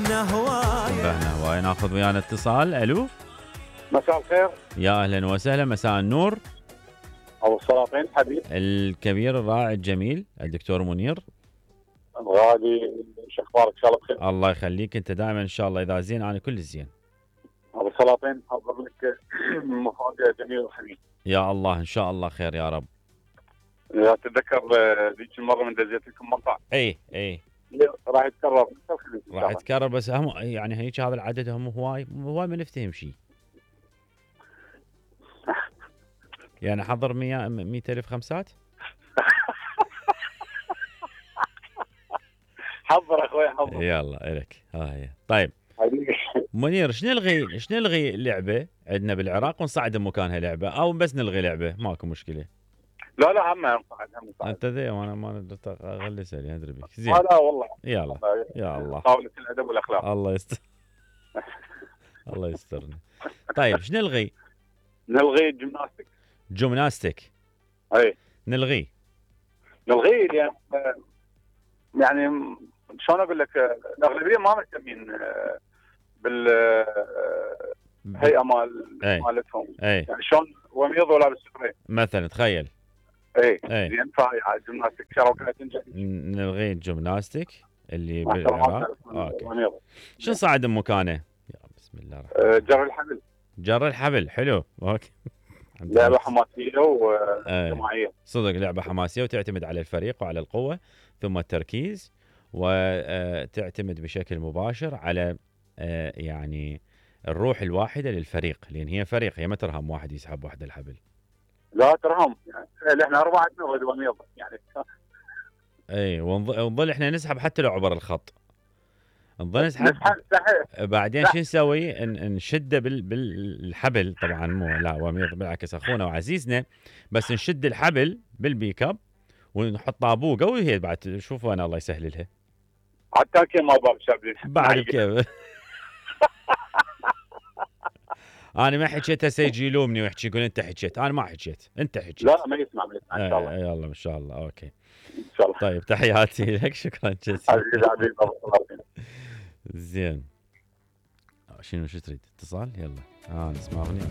انتبهنا هواي. ناخذ ويانا اتصال. الو مساء الخير. يا اهلا وسهلا. مساء النور. ابو السلاطين حبيب الكبير الرائع الجميل الدكتور منير الغالي، شو اخبارك؟ ان شاء الله بخير. الله يخليك، انت دائما ان شاء الله. اذا زين انا كل زين. ابو السلاطين حضر لك مفاجاه جميله وحبيب. يا الله ان شاء الله خير يا رب. اذا تتذكر ذيك المره من دزيت لكم مقطع. اي راح يتكرر. راح يتكرر، بس هم يعني هيك هذا العدد هم هواي ما نفتهم شيء. يعني حضر 100,000 خمسات. حضر اخوي حضر. يلا الك هاي. طيب منير، شنو نلغي لعبه عندنا بالعراق ونصعد مكانها لعبه، او بس نلغي لعبه ماكو مشكله؟ لا هم نصعد. انت ذي وانا ما اغلي سالي ادري بك زين. لا والله. يلا يا الله. طاوله الادب والاخلاق. الله يستر. الله يسترنا. طيب شنو نلغي؟ نلغي الجمناستيك. جمناستيك. اي نلغيه يعني شلون اقول لك، الاغلبيه ما مهتمين بالهيئه مالتهم. يعني شلون وميض ولا بالسفرين مثلا تخيل. اي زين. فهي الجمناستيك شراكه تنجح. نلغي الجمناستيك اللي بالعراق. اوكي. شو صعد مكانه؟ يا بسم الله الرحمن. جر الحبل حلو. اوكي. لعبه حماسيه وجماعيه. صدق لعبه حماسيه وتعتمد على الفريق وعلى القوه ثم التركيز، وتعتمد بشكل مباشر على يعني الروح الواحده للفريق، لان هي فريق، هي ما ترهم واحد يسحب واحد الحبل. لا ترهم، يعني احنا اربعه نغد ونيض يعني. اي ونظل احنا نسحب حتى لو عبر الخط. نظل نسحب. بعدين شو نسوي؟ نشده بالحبل. طبعا مو لا وميض، بالعكس اخونا وعزيزنا، بس نشد الحبل بالبيك اب ونحط طابوه قوي. هي بعد شوفوا انا الله يسهل لها. حتى كيف ما باب شابين بعد كيف. انا ما حكيت، هسه يجي يلومني ويحكي يقول انت حكيت. انا ما حكيت، انت حكيت. لا ما يسمع ان شاء الله. يلا ان شاء الله. اوكي ان شاء الله. طيب تحياتي لك، شكرا جزيلا. حبيبي زين. شنو شو تريد؟ اتصال. يلا نسمع اغنيه.